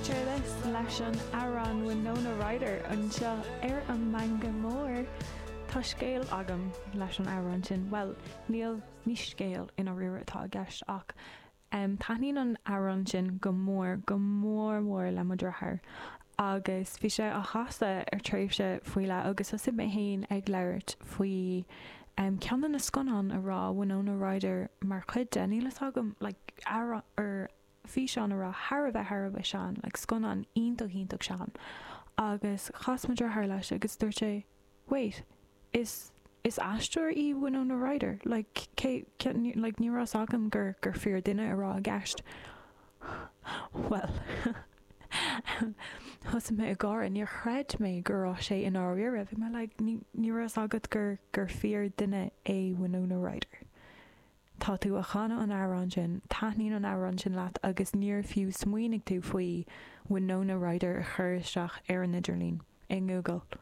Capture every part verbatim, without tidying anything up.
Careless leis an amhrán Winona Ryder anseo ar an Meangadh Mór. Tá scéal agam leis an amhrán sin. Well, níl ní scéal i ndáiríre atá i gceist ach um, taitníonn an amhrán sin go mór go mór mór le mo dheartháir. Agus bhí sé á chasadh ar tréimhse faoi leith agus thosaigh mé féin ag labhairt faoi um, ceann de na scannáin a raibh Winona Ryder mar chuid de níl a fhios agam like, ar ar físeán a raibh thar a bheith thar a bheith sean, like, scannán iontach iontach sean. Agus chas mo dheartháir leis agus dúirt sé, wait, is is aisteoir í Winona Ryder, like, cé, cé, like, ní raibh a fhios agam gur gur fíor duine a raibh i gceist. Well, Thosaigh mé ag gáire níor chreid mé go raibh sé i ndáiríre, bhí mé like, ní ní raibh a fhios agat gur gur fíor duine é Winona Ryder. Tá tú ag canadh an amhrán sin, taitníonn an amhrán sin leat agus níor fiú smaoinigh tú faoi Winona Ryder a chur isteach ar an idirlíon i nGoogle.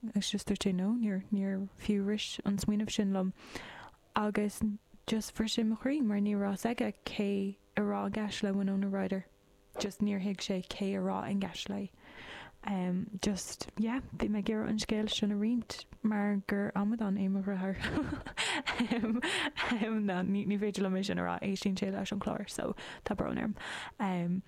Agus just dúirt sé no, níor níor fiú rith an smaoineamh sin liom. Agus just bhris sé mo chroí mar ní raibh a fhios aige cé a raibh i gceist le Winona Ryder. Just níor thuig sé cé a raibh i gceist léi. Um, just yeah, bhí mé ag iarraidh an scéal sin a roinnt mar gur amadán é mo dheartháir. um, um, no, ní, ní féidir liom é sin a rá éistíonn sé leis an chlár, so tá brón orm. Um,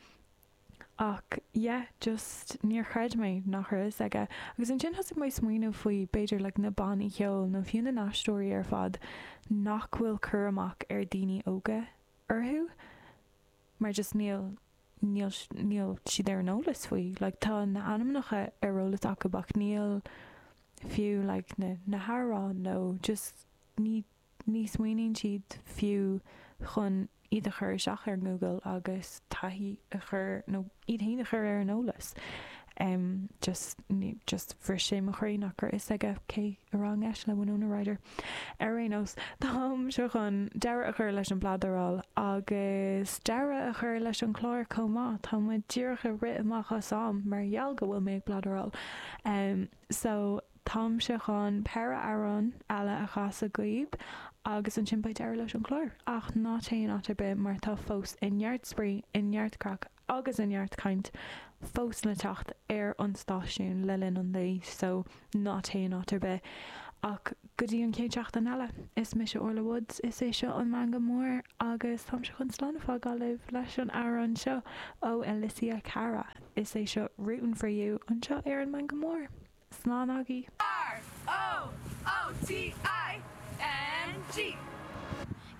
ach yeah, just níor chreid mé nach raibh a fhios aige. Agus ansin thosaigh mé smaoineamh faoi b'fhéidir like, na bannaí ceoil nó fiú na n-aisteoirí ar fad nach bhfuil cur amach ar daoine óga orthu, mar just níl níl níl siad ar an eolas faoi. Like, tá na hainmneacha ar eolas acu ach níl fiú like, na, na hamhráin nó just ní ní smaoiníonn siad fiú chun iad a chur isteach ar Google agus taithí a chur nó iad féin a chur ar an eolas. Um, just ní, just bhris sé mo chroí nach raibh a fhios aige cé a raibh i gceist le Winona Ryder. Ar aon nós táimse chun deireadh a chur leis an bpladaráil agus deireadh a chur leis an chlár chomh maith Tá muid díreach ag rith amach as am mar gheall go bhfuil mé ag bladaráil. Um, so táimse chun péire amhrán eile a chasadh daoibh agus ansin beidh deireadh leis an chlár ach ná téigh in áit ar bith mar tá fós i neart spraoi i neart craic agus i neart caint fós le teacht ar an stáisiún le linn an lae so ná téigh in áit ar bith ach go dtí an chéad seachtain eile is mise Orla Woods is é seo an Meangadh Mór agus táimse chun slán a fhágáil libh leis an amhrán seo ó Alessia Cara is é seo Rootin' for You anseo ar an Meangadh Mór. Slán agaibh. R O O T I N G.